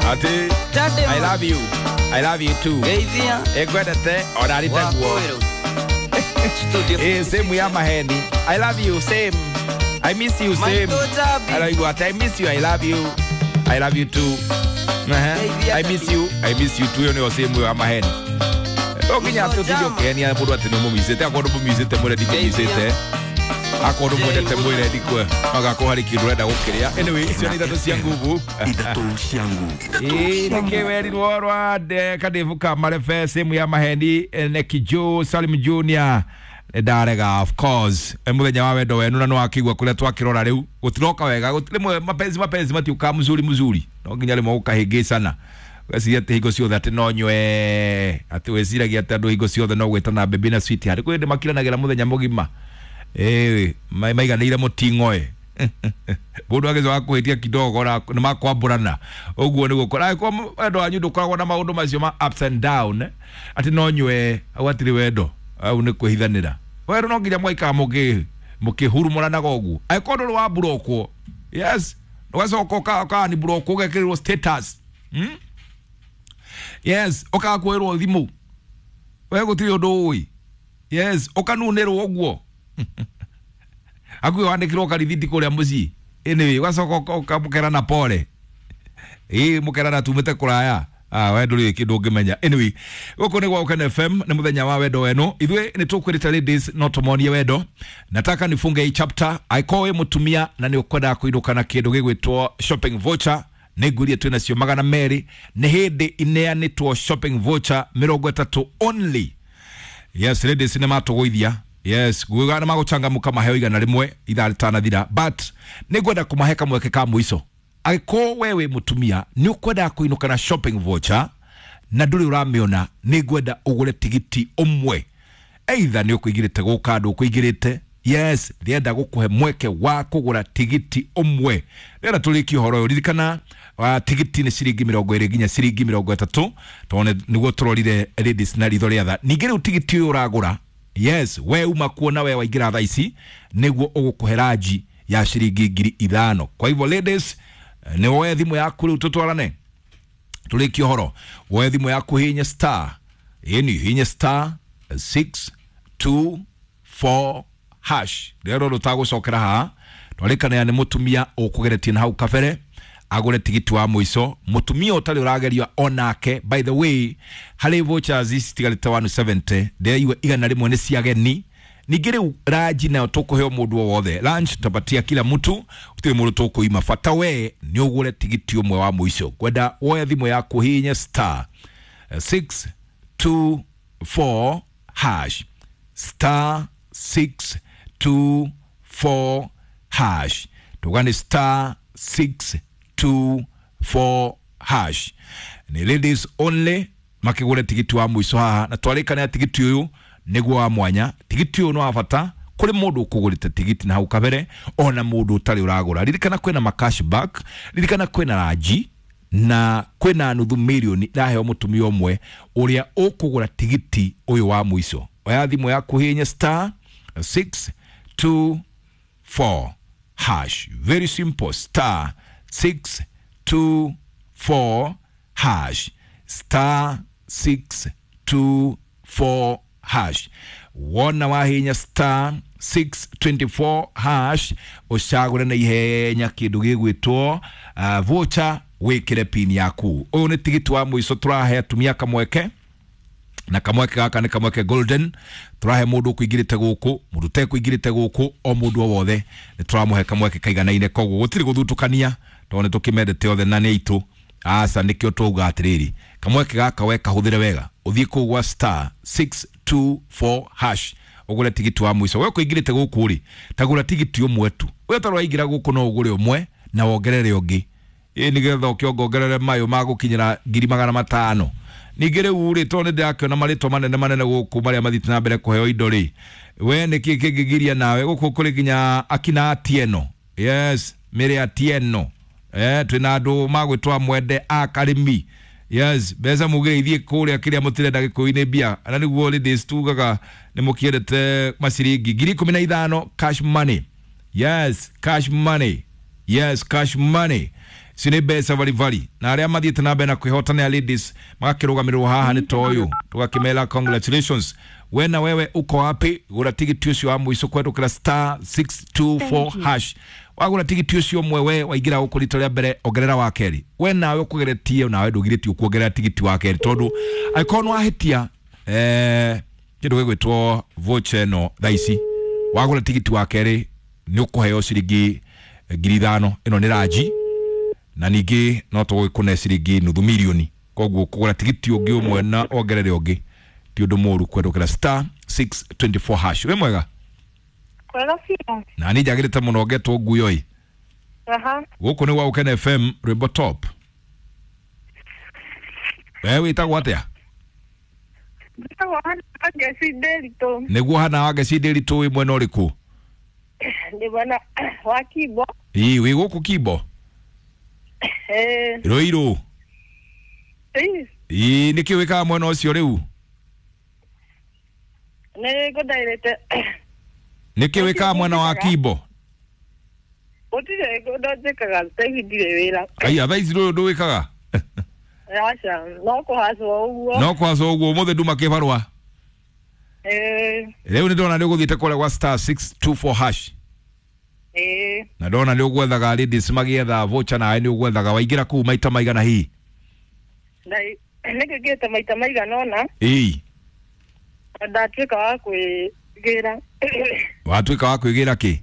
Ati I love you, I love you too. Ekwendete ona ritaguo. Eh, same ya maheni. I love you same. I miss you same. Araigua ati I miss you, I love you. I love you too. I miss you, I miss you too. Yo nĩyo same ya maheni. Okinya atũtige ũkĩhenia mũndũ atĩ nĩũmũmicĩte akorwo ndũmũmicĩte mwĩre ndikũmicĩte akorwo ndũmwendete mwĩre ndikwe agakorwo harĩ kĩndũ ũrenda gũkĩrĩa. Anyway, icio nĩ ithatũ cia nguvu. Ithatũ cia nguvu. Ĩĩ nĩkĩ werirwo rwa Kadivu ka Marebe same ya maheni Neki Joe Salim Junior ndarega of course muthenya wa wendo wenu na nĩwakĩigua kũrĩa twakĩrora rĩu gũtiroka wega rĩmwe mapenzi mapenzi matiũkaga mzuri mzuri no nginya rĩmwe gũkahĩngĩcana weciria atĩ hingo ciothe atĩ no nywe atĩ wĩciragia atĩ andũ hingo ciothe no gwĩtana baby na sweetheart kwĩ hĩndĩ makiranagĩra mũthenya mũgima ĩĩ maiganĩire mũting'oe mũndũ agĩcoka kũhĩtia kidogo na nĩ makwambũrana ũguo nĩguo angĩkorwo wendo wanyu ndũkoragwo na maũndũ macio ma ups and down atĩ no nywe hau hatirĩ wendo au nĩ kwĩhithanĩra wendo no nginya mwaikara mũkĩhurumũranaga ũguo angĩkorwo ndũrĩ wa mburokwo yes ũgacoka ũkani mburokwo ũgekĩrĩrwo status. Yes, ũkaga kuoerwo thimũ we gũtirĩ ũndũ ũĩ yes ũkanunĩrwo ũguo hakuhĩ wandĩkĩrwo karithiti kũrĩa mũciĩ anyway ũgacoka ũkamũkerana pole ĩĩ mũkerana tumĩte kũraya. Ah, we ndũrĩ kĩndũ ũngĩmenya. Anyway, gũkũ nĩ gwa Ũkene FM nĩ mũthenya wa wendo wenu ithuĩ nĩ tũkwĩrĩte ladies no tũmonie wendo. Nataka nifunge hii chapter angĩkorwo wĩ mũtumia na nĩ ũkwendaga kũinũka na kĩndũ gĩgwĩtwo shopping voucher nĩ ngũria twĩ nacio 200 nĩ hĩndĩ ineanĩtwo shopping voucher 30 only. Yes, ladies nĩ matũgũithia yes nguga nĩ magũcangamũka maheo 100 ithaa rĩtanathira but nĩ ngwenda kũmahe kamweke ka mũico angĩkorwo we wĩ mũtumia nĩ ũkwendaga kũinũka na shopping voucher na ndũrĩ ũramĩona nĩ ngwenda ũgũre tigiti ũmwe either nĩ ũkũingĩrĩte gũka ndũkũingĩrĩte yes ndĩrenda gũkũhe mweke wa kũgũra tigiti ũmwe ndĩrenda tũrĩkie ũhoro ũyũ ririkana tigiti nĩ ciringi 20 nginya ciringi 30 tondũ nĩguo tũrorire ladies na ritho rĩa tha ningĩ rĩu tigiti ũyũ ũragũra yes we uma kuona we waingĩra thaa ici nĩguo ũgũkũhe ranji ya ciringi 5,000 kwa hivyo ladies nĩ woe thimũ yaku rĩu tũtwarane tũrĩkie ũhoro woe thimũ yaku hihinya star ĩni hihinya star 624 hash rĩrĩa rũtagũcokera haha twarĩkanĩra nĩ mũtumia ũkũgeretie na hau kabere agũre tigiti wa mũico mũtumia ũtarĩ ũrageria onake by the way harĩ vouchers ici citigarĩte 170 ndĩraigua 100 nĩ cia ageni ningĩ rĩu ranji nayo tũkũheo mũndũ o wothe lunch tutapatia kila mtu gũtirĩ mũndũ tũkũima bata we nĩ ũgũre tigiti ũmwe wa mũico ngwenda woe thimũ yaku hihinye star 624 hash star 624 hash tugani star 624 hash ni ladies only makigure tigiti wa mũico haha na twarĩkana tigiti ũyũ nĩguo wa mwanya tigiti ũyũ nĩ wa bata kũrĩ mũndũ ũkũgũrĩte tigiti na hau kabere ona mũndũ ũtarĩ ũragũra ririkana kwĩna ma cashback ririkana kwĩna ranji na kwĩna nuthu mirioni ĩraheo mũtumia ũmwe ũrĩa ũkũgũra tigiti ũyũ wa mũico oya thimũ yaku hihinya star 624 hash very simple star 624 hash star 624 hash wona wahinya star 624 hash ũcagũre na ihenya kĩndũ gĩgwĩtwo voucher wĩkĩre pin yaku ũyũ nĩ tigiti wa mũico tũrahe atumia kamweke na kamweke gaka nĩ kamweke golden tũrahe mũndũ ũkũingĩrĩte gũkũ mũndũ ũtekũingĩrĩte gũkũ o mũndũ o wothe nĩ tũramũhe kamweke kaiganaine koguo gũtirĩ gũthutũkania tondũ nĩ tũkĩmendete othe na nĩ aitũ aca nĩkĩo twauga atĩrĩrĩ kamweke gaka we kahũthĩre wega ũthiĩ kũu gwa star 624 hash ũgũre tigiti wa mũico we ũkũingĩrĩte gũkũ rĩ tagũra tigiti ũmwe tu we ũtarĩ waingĩra gũkũ no ũgũre ũmwe na wongerere ũngĩ ĩ nĩgetha ũkĩongongerere mayũ magũkinyĩra 500,000 ningĩ rĩu rĩ tondũ nĩ ndĩrakĩona marĩtwa manene manene gũkũ marĩa mathiĩte na mbere kũheo indo rĩ we nĩkĩ kĩngĩgiria nawe gũkũ kũrĩ nginya akina Atieno yes Mary Atieno twĩna andũ magwĩtwa Mwende a Karĩmi yes mbeca mugire ithiĩ kũrĩa kĩrĩa mũtirenda gĩkũyũ-inĩ mbia na nĩguo ladies tugaga nĩ mũkĩendete maciringi 15,000 cash money yes cash money yes cash money Icio nĩ mbeca baribari na arĩa mathiĩte na mbere na kwĩhota nĩ a ladies magakĩrũgamĩrĩrwo haha nĩ toyũ tũgakĩmera congratulations. We na wewe uko wapi? Gũra tigiti ũcio wa mũico kũhetũkĩra star 624 hash. Wagũra tigiti ũcio ũmwe we waingĩra gũkũ rita rĩa mbere ongerera wa kerĩ. We nawe ũkũgeretie nawe ndũgirĩtio kuongerera tigiti wa kerĩ tondũ angĩkorwo nĩ wahĩtia kĩndũ gĩgwĩtwo voucher ĩno thaa ici wagũra tigiti wa kerĩ nĩ ũkũheo ciringi 5,000. Ĩno nĩ ranji na ningĩ no tũgũgĩkũne ciringi nuthu mirioni. Koguo kũgũra tigiti ũngĩ ũmwe na ongerere ũngĩ ti ũndũ mũũru kũhetũkĩra star 624 hash. Wĩ mwega? Kwega biũ. Na niĩ njagĩrĩte mũno ngetwo nguyo ĩ. Aha. Gũkũ nĩ gwa Gũkena FM rwĩmbo top. We wĩtagwo atĩa? Njĩtagwo Hana Wangeci Ndĩritũ. Nĩguo Hana Wangeci Ndĩritũ wĩ mwena ũrĩkũ? Ndĩ mwena wa Kimbo. Ĩ wĩ gũkũ Kimbo? Ĩĩ. Rũirũ. Ĩĩ. Ĩ nĩkĩ wĩkaga mwena ũcio rĩu? Nĩ ngũndairĩte. Nĩkĩ wĩkaga mwena wa Kimbo? Gũtirĩ ũndũ njĩkaga thaa ici ndirĩ wĩra. Aya thaa ici ndũrĩ ũndũ wĩkaga? Aca, no kũhacwo ũguo. No kũhacwo ũguo ũmũthĩ nduma kĩbarũa. Ĩĩ. Rĩu nĩ ndona nĩ ũgũthiĩte kũrĩa gwa star 624 hash. Ĩĩ. Na ndona nĩ ũgwethaga ladies magĩetha voucher nawe nĩ ũgwethaga waingĩra kũu maita maigana hihi? Nĩ ngĩte maita maigana ũna. Ĩĩ. Ndatuĩka wa kwĩgĩra. Watuĩka wa kwĩgĩra kĩ?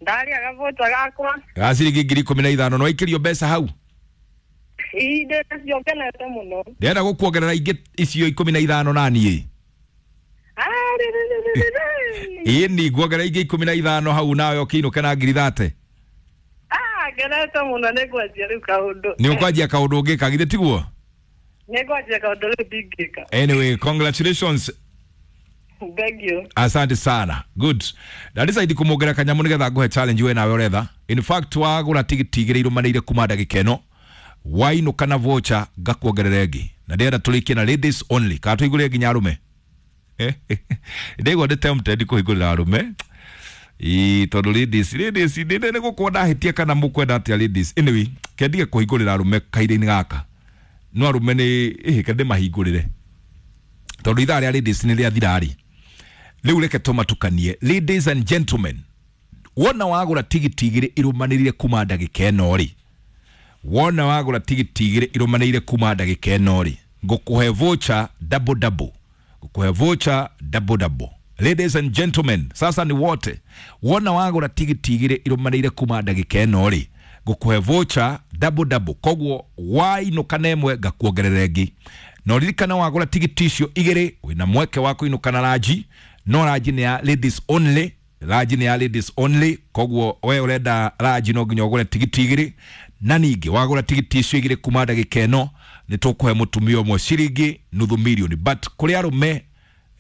Ndarĩa gavoucher gakwa. Ga ciringi 15,000 no waikĩrio mbeca hau? Ĩĩ ndĩnacio ngenete mũno. Ndĩrenda gũkuongerera ingĩ icio 15 na niĩ. Ĩĩ ni nguongerera ingĩ 15 hau nawe ũkĩinũke na 30,000. Ah, ngenete mũno nĩ ngwanjia rĩu kaũndũ. Nĩ ũkwanjia kaũndũ ũngĩka githĩ tiguo? Nĩ ngwanjia kaũndũ rĩu ndingĩka. Anyway, congratulations. Thank you. Asante sana. Good. Na decide kumuongerera kanyamu nigetha nguhe challenge we nawe ũretha. In fact wagũra tigiti igĩrĩ irũmanĩire kuma ndagĩka ĩno wainũka na voucher ngakuongerera ĩngĩ. Na ndĩrenda tũrĩkie na ladies only. Kana tũhingũrĩre nginya arũme? Ndĩgwo ndĩ tempted kũhingũrĩra arũme. Ĩĩ tondũ ladies nĩ gũkorwo ndahĩtia kana mũkwenda atĩa ladies. Anyway, kendige kũhingũrĩra arũme kahinda-inĩ gaka. No arũme nĩ ĩhĩ kende mahingũrĩre. Tondũ ithaa rĩa ladies nĩ rĩathira rĩ. Rĩu reke tũmatukanie. Ladies and gentlemen, wona wagũra tigiti igĩrĩ irũmanĩrĩire kuma ndagĩka ĩno rĩ. Wona wagũra tigiti igĩrĩ irũmanĩrĩire kuma ndagĩka ĩno rĩ. Ngũkũhe voucher double double. Ngũkũhe voucher double double. Ladies and gentlemen, sasa ni wote. Wona wagũra tigiti igĩrĩ irũmanĩrĩire kuma ndagĩka ĩno rĩ. Ngũkũhe voucher double double. Koguo wainũka na ĩmwe ngakuongerera ĩngĩ. Na ũririkane wagũra tigiti icio igĩrĩ wĩna mweke wa kũinũka na ranji. No ranji nĩ ya ladies only. Ranji nĩ ya ladies only. Koguo we ũrenda ranji no nginya ũgũre tigiti igĩrĩ. Na ningĩ wagũra tigiti icio igĩrĩ kuma ndagĩka ĩno nĩ tũkũhe mũtumia ũmwe ciringi nuthu mirioni. But kũrĩ arũme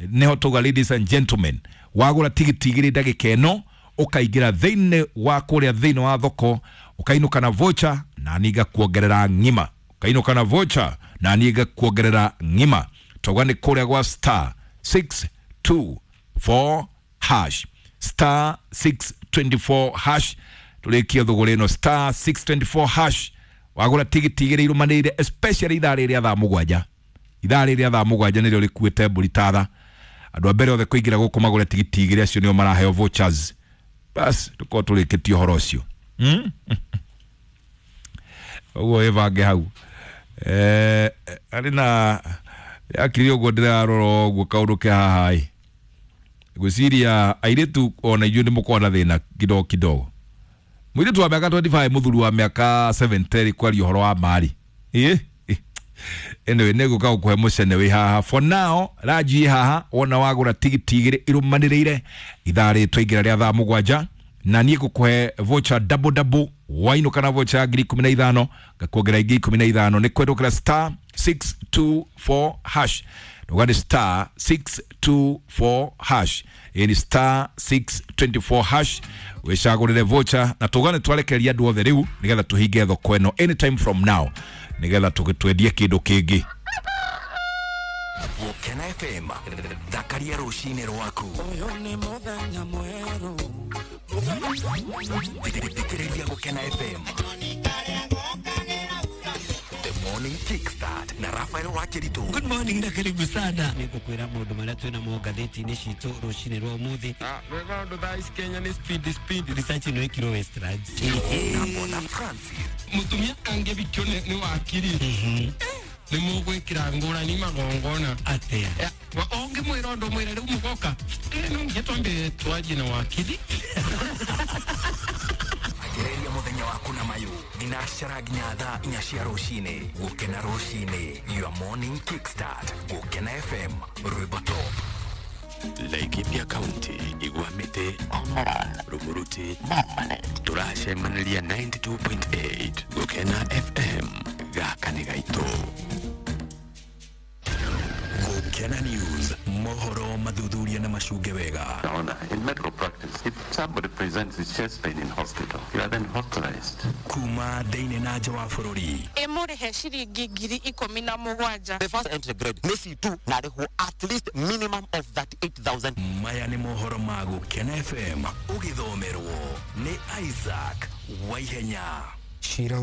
nĩho tauga ladies and gentlemen, wagũra tigiti igĩrĩ ndagĩka ĩno ũkaingĩra thĩinĩ wa kũrĩa thĩinĩ wa thoko ũkainũka na voucher na niĩ ngakuongerera ng'ima. Ũkainũka na voucher na niĩ ngakuongerera ng'ima. Tauga nĩ kũrĩa gwa star 624 hash. Star 624 hash. Tũrĩkie thũgũrĩ ĩno star 624 hash. Wagũra tigiti igĩrĩ irũmanĩrĩire especially ithaa rĩrĩa thaa mũgwanja. Ithaa rĩrĩa thaa mũgwanja nĩrĩo rĩkuĩte mbũri tatha. Andũ a mbere othe kũingĩra gũkũ magũre tigiti igĩrĩ acio nĩo maraheo vouchers. Bas tũkorwo tũrĩkĩtie ũhoro ũcio. Ũguo ĩbange hau. Arĩ na yakiri ũguo ndĩrarora ũguo kaũndũ ke haha ĩ. Ngwĩciria airĩtu ona inyuĩ nĩ mũkoragwo na thĩna kidogo kidogo. Mũirĩtu wa mĩaka 25 mũthuri wa mĩaka 70 kwaria ũhoro wa mari. Ĩ? Anyway, nĩ ngũka gũkũhe mũcene wĩ haha. For now, ranji ĩ haha wona wagũra tigiti igĩrĩ irũmanĩrĩire ithaa rĩ twaingĩra rĩa thaa mũgwanja na niĩ ngũkũhe voucher double double wainũka na voucher ya 15,000 ngakuongerera ingĩ 15 nĩ kwendũkĩra star 624 hash. Ndauga nĩ star 624 hash. Ĩ ni star 624 hash wĩcagũrĩre voucher na tũgane twarekereria andũ othe rĩu nĩgetha tũhinge thoko ĩno anytime from now nĩgetha twendie kĩndũ kĩngĩ. Gũkena FM, thakaria rũcinĩ rwaku. Ũyũ nĩ mũthenya mwerũ. Thikĩrĩria Gũkena FM. The Morning Kickstart na Rafael Wakiritu. Good morning na karibu sana. Nĩngũkwĩra maũndũ marĩa twĩna mo ngathĩti-inĩ citũ rũcinĩ rwa ũmũthĩ. Wega ũndũ thaa ici Kenya nĩ speed speed. Research ĩno ĩkirwo Westlands. Na Bona Francis. Mũtumia angĩbikio nĩ wakiri nĩ mũgwĩkĩra ngũrani magongona. Atĩa? Ũngĩmwĩra ũndũ mwĩre rĩu mũgoka no nginya twambe twanjie na wakiri. Anjĩrĩria mũthenya waku na mayũ thinacara nginya thaa 4 cia rũcinĩ. Gũkena rũcinĩ, your morning kickstart. Gũkena FM, rwĩmbo top. Laikipia County, Igwamite, Omoran, Rumuruti, Bomanet. Tũracemanĩria 92.8 Gũkena FM, gaka nĩ gaitũ. Gũkena News, mohoro mathuthuria na macunge wega. Honor, in medical practice, if somebody presents with chest pain in hospital, you are then hospitalized. Kuma thĩinĩ na nja wa bũrũri. Ĩmũrĩhe ciringi 17,000. The first entry grade nĩ C2 na arĩhwo at least minimum of 38,000. Maya nĩ mohoro ma Gũkena FM, ũgĩthomerwo nĩ Isaac Waihenya. Cira.